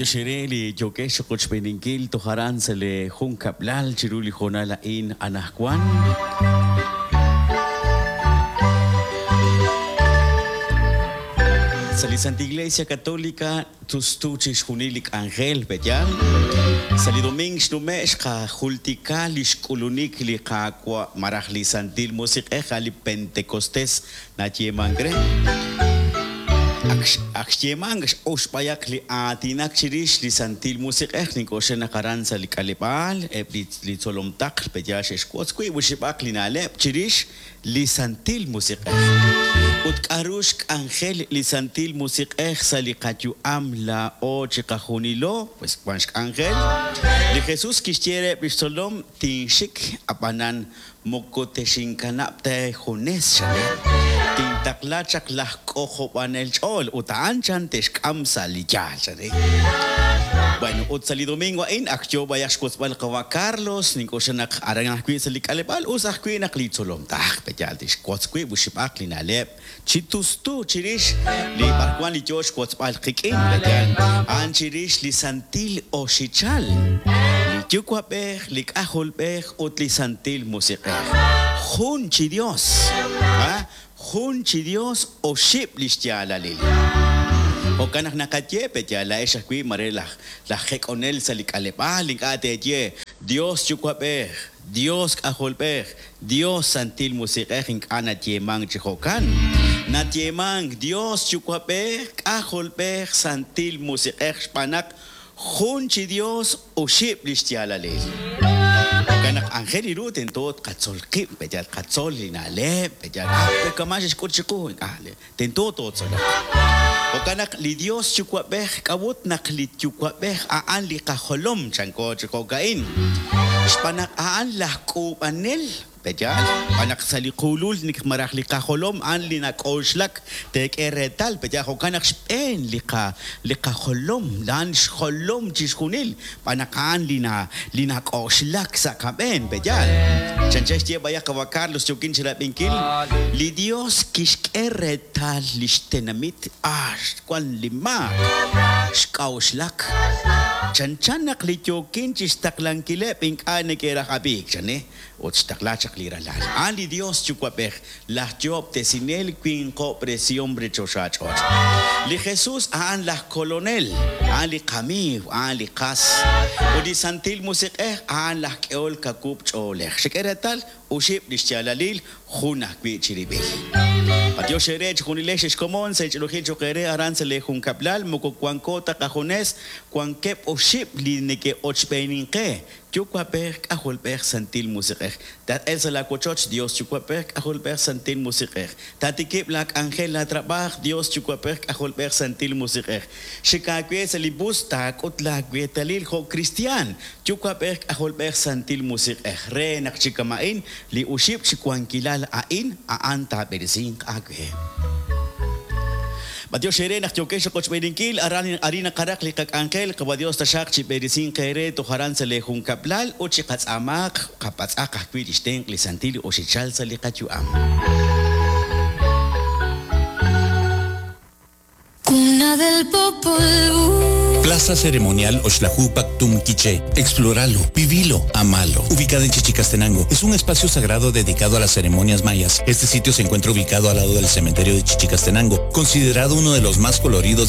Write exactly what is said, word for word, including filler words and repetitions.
Matiox ere li yokex qochb'eeninkil toj aran sa' li junkab'lal chiru li hoonal a'in anajwan. Sa' li Santa Iglesia Católica tustu chixjunil li k'anjel pe'yaal. Sa' li domingo xnume' xqajultika li xk'ulunik li Qaawa' maraj li Santil Musiq'ej a' li Pentecostés nayeemank re. Ak xyeemank oxb'ayaq li aatinak chirix li Santil Musiq'ej nink'oxla naq aran sa' li k'aleb'aal eb' li li tzolomtaql pe'yaal xe'xwotz wiib' oxib'aq li na'leb' chirix li Santil Musiq'ej. Ut k'a'ru xk'anjel li Santil Musiq'ej sa' li qayu'am laa'o chiqajunilo? Pues wan xk'anjel. Li Jesús kixye reheb' li xtzolom tinxik ab'anan moko texinkanab' ta junes xale. Tintaqla chaq laj k'ojob'anel ch'ool ut a'an chan texk'am sa' li yaal xale. Bueno, ut sa' li domingo a'in ak yo b'ayaq xwotzb'al qawa' Carlos nink'oxla naq aran ajwi' sa' li k'aleb'aal us ajwi' naq li tzolom taj pe'yaal tixwotz wiib' oxib'aq li na'leb' chi tustu chirix li b'arwan li yo xwotzb'al qik'in pe'yaal a'an chirix li Santil Oxichal, li Yuwa'b'ej, li K'ajolb'ej ut li Santil Musiq'ej. Jun chi Dios, ha? Jun chi Dios oxib' li xyaalalil. Jo'kan naq naqaye pe'yaal la'ex ajwi' mare laj laj jek'onel sa' li k'aleb'aal ink'a' teeye Dios Yuwa'b'ej, Dios K'ajolb'ej, Dios Santil Musiq'ej ink'a' nayeemank chi jo'kan. Nayeemank Dios Yuwa'b'ej, K'ajolb'ej, Santil Musiq'ej xb'aan naq jun chi Dios oxib' li xyaalalil. Jo'kan naq anjel iru tento tqatzol qib' pe'yaal tqatzol li na'leb' pe'yaal ah kama xe'xk'ut chiqu ink'a' tento tootzoloq. Jo'kan naq li Dios Yuwa'b'ej k'awut naq li Yuwa'b'ej a'an li qajolom chanko chi jo'ka'in. Xb'aan naq a'an laj k'uub'anel pe'yaal xb'aan naq sa' li qulul maraj li qajolom a'an li nak'oxlak teek'e reetal pe'yaal jo'kan naq xb'een li qa li qajolom a'an xjolom chixjunil xb'aan naq a'an li na li nak'oxlak sa' qab'een pe'yaal. Chanchan xye b'ayaq qawa' Carlos yookin chirab'inkil li Dios kixk'e reetal li xtenamit ah wan li maak xk'a'uxlak. Chanchan naq li yookin chixtaqlankileb' ink'a' neke'raj ab'iik chane ut xtaqla chaq li ralal. A'an li Dios Yuwa'b'ej laj yoob'tesinel winqo'presihom re choxa ch'och'. Li Jesús a'an laj kolonel, a'an li qamiiw, a'an li qas. Ut li Santil Musiq'ej a'an laj k'ehol kakub' ch'oolej. Xek'e reetal oxib' li xyaalalil jun ajwi' chirib'il. Matiox ere chijunilex xkomon sa' ch'ilujil choq ere aran sa' li junkab'lal moko wanko ta qajunes wankeb' oxib' li neke'ochb'eeninqe Yuwa'b'ej, K'ajolb'ej, Santil Musiq'ej. Tat'el sa' la wochoch Dios Yuwa'b'ej, K'ajolb'ej, Santil Musiq'ej. Tatikib' la k'anjel la trab'aj Dios Yuwa'b'ej, K'ajolb'ej, Santil Musiq'ej. Xikaawe sa' li bus taak'ut la weetalil jo' cristian Yuwa'b'ej, K'ajolb'ej, Santil Musiq'ej. Re naq chikama'in li oxib' chi wankilal a'in a'an taab'eresinq aawe. Matiox ere naq yokex qochb'eeninkil aran arin naqaraq li qak'anjel qawa Dios taxaq chi b'eresinq ere toj aran sa' li junkab'lal ut chi qatz'aamaaq qapatz'aq ajwi' li xtenq' li Santil Oxichal sa' li qayu'am. Cuna del Popol Vuh. Plaza Ceremonial Oxlajupac Tumquiché. Exploralo, vivilo, amalo. Ubicada en Chichicastenango, es un espacio sagrado dedicado a las ceremonias mayas. Este sitio se encuentra ubicado al lado del cementerio de Chichicastenango, considerado uno de los más coloridos de